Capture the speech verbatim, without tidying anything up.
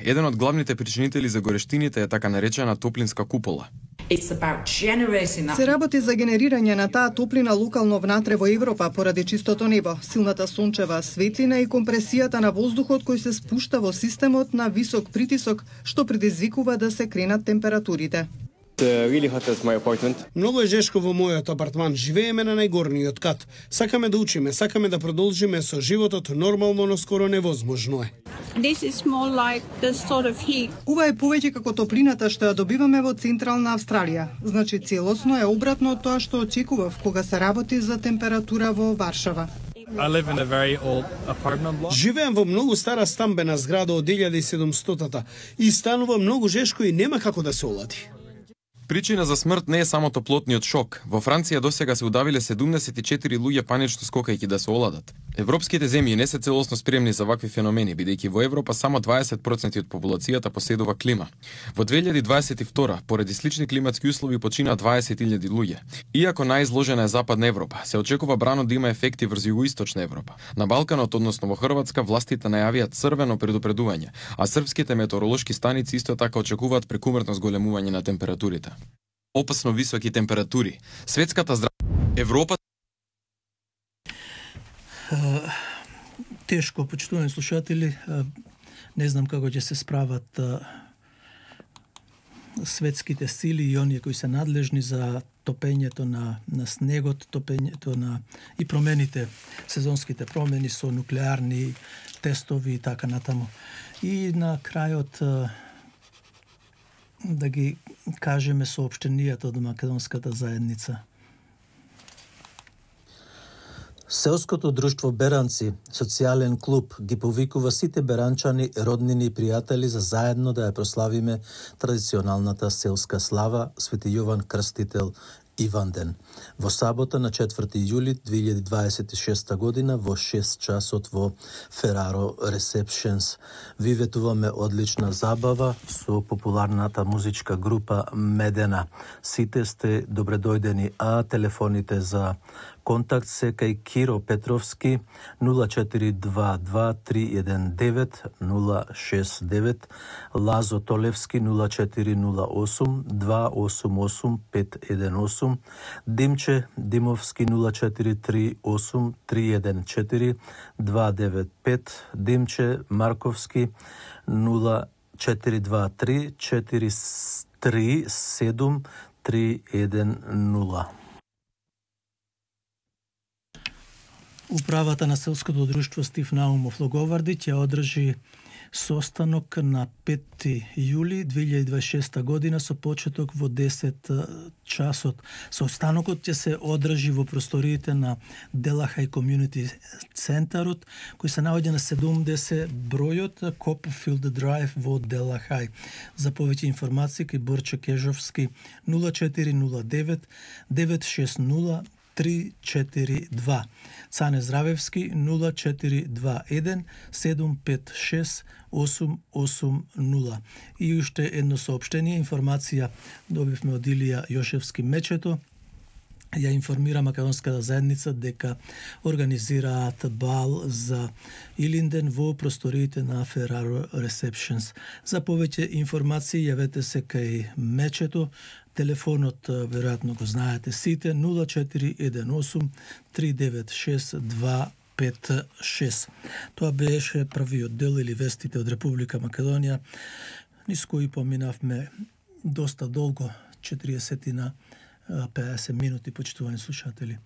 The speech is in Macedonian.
Еден од главните причинители за горештините е така наречена топлинска купола. Се работи за генерирање на таа топлина локално внатре во Европа поради чистото небо, силната сончева светлина и компресијата на воздухот кој се спушта во системот на висок притисок, што предизвикува да се кренат температурите. Really hot at my apartment. Многу е жешко во мојот апартман. Живееме на најгорниот кат. Сакаме да учиме, сакаме да продолжиме со животот нормално, но скоро невозможно е. This is more like the sort of heat. Ова е повеќе како топлината што ја добиваме во Централна Австралија. Значи целосно е обратно од тоа што очекував кога се работи за температура во Варшава. I live in a very old apartment block. Живеам во многу стара стамбена зграда од илјада и седумстотата и станува многу жешко и нема како да се олади. Причина за смрт не е само топлотниот шок. Во Франција досега се удавиле седумдесет и четири луѓе панично скокајќи да се оладат. Европските земји не се целосно спремни за вакви феномени, бидејќи во Европа само дваесет проценти од популацијата поседува клима. Во две илјади дваесет и втора, поради слични климатски услови почина дваесет илјади луѓе. Иако најизложена е Западна Европа, се очекува брано да има ефекти врз Југоисточна Европа. На Балканот, односно во Хрватска, властите најавија црвено предупредување, а српските метеоролошки станици исто така очекуваат прекумерно зголемување на температурите. Опасно високи температури. Светската здравствена Европа Uh, тешко, почитувани слушатели, uh, не знам како ќе се справат uh, светските сили и оние кои се надлежни за топењето на, на снегот, топењето на и промените, сезонските промени со нуклеарни тестови и така натаму. И на крајот uh, да ги кажеме соопштенијата од македонската заедница. Селското друштво Беранци, социјален клуб, ги повикува сите беранчани, роднини и пријатели за заедно да ја прославиме традиционалната селска слава Свети Јован Крстител Иванден. Во сабота на четврти јули две илјади дваесет и шеста година во шест часот во Фераро Ресепшенс. Ви ветуваме одлична забава со популарната музичка група Медена. Сите сте добредојдени, а телефоните за контакт се кај Киро Петровски нула четири два два три еден девет нула шест девет, Лазо Толевски нула четири нула осум два осум осум пет еден осум, Димче Димовски нула четири три осум три еден четири два девет пет, Димче Марковски нула четири два три четири три седум три еден нула. Управата на селското друштво Стив Наумов Логоварди ќе одржи состанок на пети јули две илјади дваесет и шеста година со почеток во десет часот. Состанокот ќе се одржи во просториите на Делахај Community Центарот, кој се наоѓа на седумдесет бројот Копфилд Драйв во Делахај. За повеќе информации кај Борче Кежовски нула четири нула девет девет шест нула три четири два, Цане Здравевски нула четири два еден седум пет шест осум осум нула. И уште едно соопштение, информација добивме од Илија Јошевски Мечето. Ја информира македонската заедница дека организираат бал за Илинден во просториите на Фераро Ресепшенс. За повеќе информации јавете се кај Мечето. Телефонот веројатно го знаете сите нула четири еден осум три девет шест два пет шест. Тоа беше првиот дел или вестите од Република Македонија, низ кои поминавме доста долго, четириесет на педесет минути, почитувани слушатели.